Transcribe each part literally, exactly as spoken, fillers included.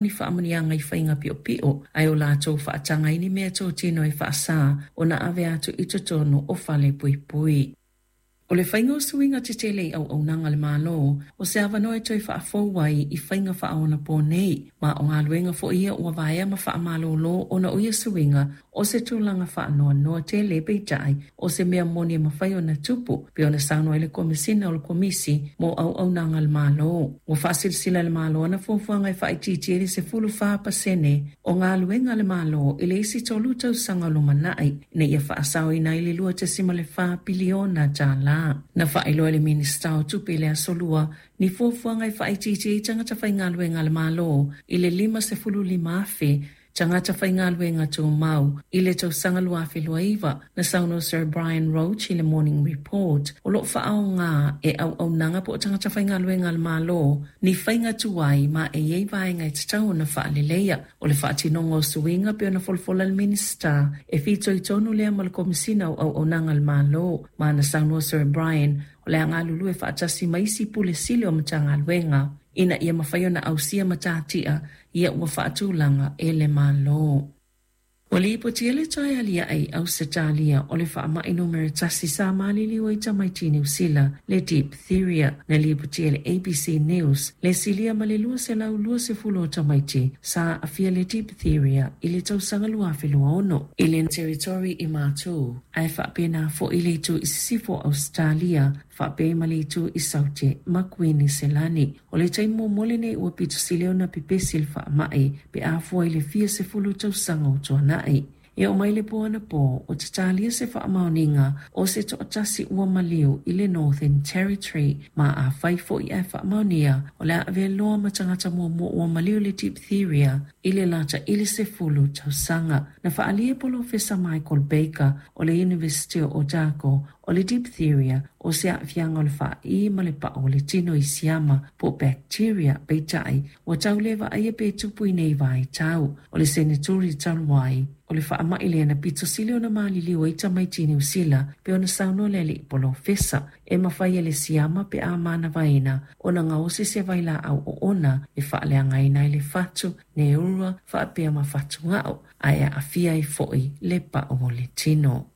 Ni faamanuiaga i faiga piopio ae o latou faataga ai ni meatotino e faasā ona ave atu i totonu o fale puipui. O le faiga o suiga tetele i auaunaga a le Malo, o se avanoa e toe faafou ai i faiga faaonaponei, ma o galuega foi ia ua vaea ma faamalolo ona o ia suiga o se tulaga faanoanoa tele, peitai o se mea moni e mafai ona tupu, pei ona saunoa ai le Komesina o le Komisi mo Auaunaga a le Malo. Ua faasilasila e le Malo ana fuafuaga e faaitiitia i le sefulu fa pasene o galuega a le Malo i le isi tolu tausaga o lumanai, ina ia faasaoina ai le lua tesima le fa piliona tala. Na faailoa e le Minisita o Tupe i le Aso Lua ni fuafuaga e faaitiitia ai tagata faigaluega a le Malo i le lima sefulu lima afe tagata faigaluega tumau i le tausaga lua afe lua iva. Na saunoa Sir Brian Roche i le Morning Report o lo o faaaoga e auaunaga po o tagata faigaluega a le Malo ni faiga tuai ma e i ai vaega e tatau ona faaleleia. O le faatinoga o suiga pei ona folafola le Minisita e fitoitonu lea ma le Komesina o Auaunaga a le Malo, ma na saunoa Sir Brian o le a galulue faatasi ma isi pule sili o Matagaluega ina ia mafai ona ausia matatia ia ua faatulaga e le Malo. Ua lipotia le toe aliae i Ausetalia o le faamai numera tasi sa maliliu ai tamaiti Niu Sila, le diphtheria. Na lipotia e le A B C News le silia ma le lua selau lua sefulu o tamaiti sa aafia le diphtheria i le tausaga lua afe lua ono i le Territory i Matu, ae faapena foi le itu i sisifo o Ausetalia faapea ma le itu i Saute ma Kuiniselani. O le taimi muamua lenei ua pito sili ona pepesi le faamai pe a fua i le fia sefulu tausaga o tuanai. E oo mai le po anapo o tatalia se faamaoniga o se toatasi ua maliu i le Northern Territory, ma afai foi ae faamaonia o le a avea loa ma tagata muamua ua maliu le diphtheria i le lata i le sefulu tausaga. Na faaalia e Polofesa Michael Baker o le University o Otago o le diphtheria o se aafiaga o le faai ma le pao o le tino i siama po bacteria, peitai ua tau le vaaia pe tupu i nei vaitau. O le Senatori talu ai o le faamai lea na pito sili ona maliliu ai tamaiti Niu Sila pe ona saunoa le alii polofesa e mafai e le siama pe a manavaina ona gaosi se vailaau oona e faaleagaina ai le fatu, neura faapea ma fatugao ae aafia ai foi le pao o le tino.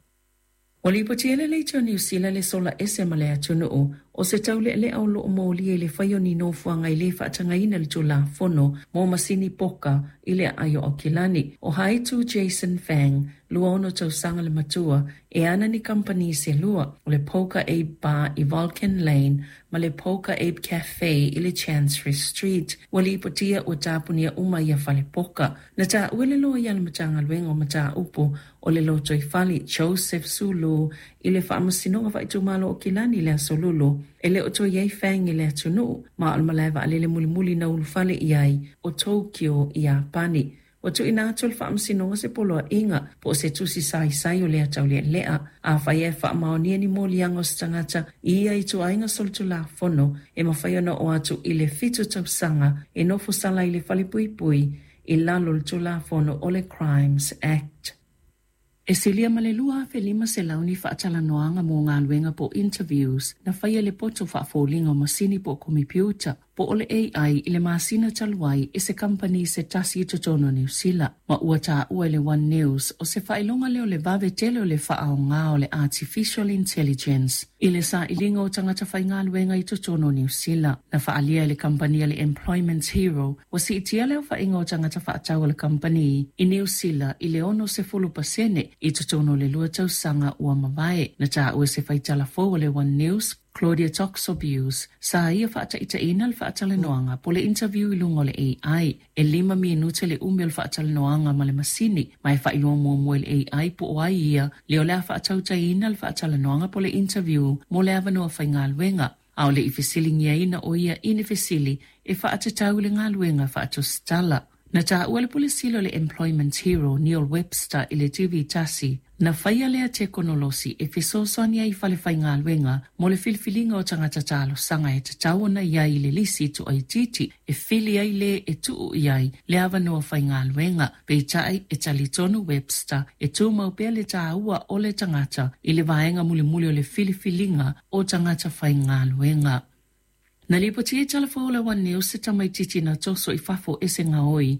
Ua lipotia e le Leitio Niu Sila le sola ese ma le atunuu o se taulealea o loo molia i le fai o ni nofoaga i le faatagaina le Tulafono mo masini poka i le aai o Aukilani. O Haitu Jason Fang, lua ono tausaga le matua, e ana ni kampani se lua, o le Poker Ape Bar i Vulcan Lane ma le Poker Ape Cafe i le Chancery Street. Ua lipotia ua tapunia uma ia fale poka. Na taua le loia o le Matagaluega o Mataupu o le Lotoifale Joseph Sulu i le faamasinoga faaitumalo o Kilani i le Aso Lulu e le o toe iai Fang i le atunuu, ma o le malae vaalele mulimuli na ulufale i ai o Tokyo i Iapani. Ua tuuina atu le faamasinoga se poloaiga po o se tusi saisai o le ataulealea afai e faamaonia ni moliaga o se tagata i ia ituaiga solitulafono e mafai ona oo atu i le fitu tausaga e nofo sala i le falepuipui i lalo o le Tulafono o le Crimes Act. E silia ma le lua afe lima selau ni faatalanoaga mo galuega po interviews na faia le poto faafoliga o masini po o komipiuta po o le A I i le masina talu ai e se kampani se tasi i totonu o Niu Sila, ma ua taua e le One News o se faailoga lea o le vave tele o le faaaoga o le Artificial Intelligence i le sailiga o tagata faigaluega i totonu o Niu Sila. Na faaalia e le kampani a le Employment Hero ua siitia le aofaiga o tagata faatau a le kampani i Niu Sila i le ono sefulu pasene i totonu o le lua tausaga ua mavae. Na taua e se faitala fou o le One News Claudia Toxobius sa ia faataitaiina le faatalanoaga po le interview i luga o le A I. E lima minute le umi o le faatalanoaga ma le masini, ma e faailoa muamua i le A I po o ai ia le o le a faatautaina le faatalanoaga po le interview mo le avanoa faigaluega. A o le i fesiligiaina o ia i ni fesili e faatatau i le galuega faatusitala. Na taua le pule sili o le Employment Hero Neil Webster i le T V tasi, na faia lea tekonolosi e fesoasoani ai i fale faigaluega mo le filifiliga o tagata talosaga e tatau ona i ai i le lisi tuaitiiti e fili ai le e tuu i ai le avanoa faigaluega. Peitai e talitonu Webster e tumau pea le taua o le tagata i le vaega mulimuli o le filifiliga o tagata faigaluega. Na lipotia e tala fou o le One News se tamaitiiti na toso i fafo e se gaoi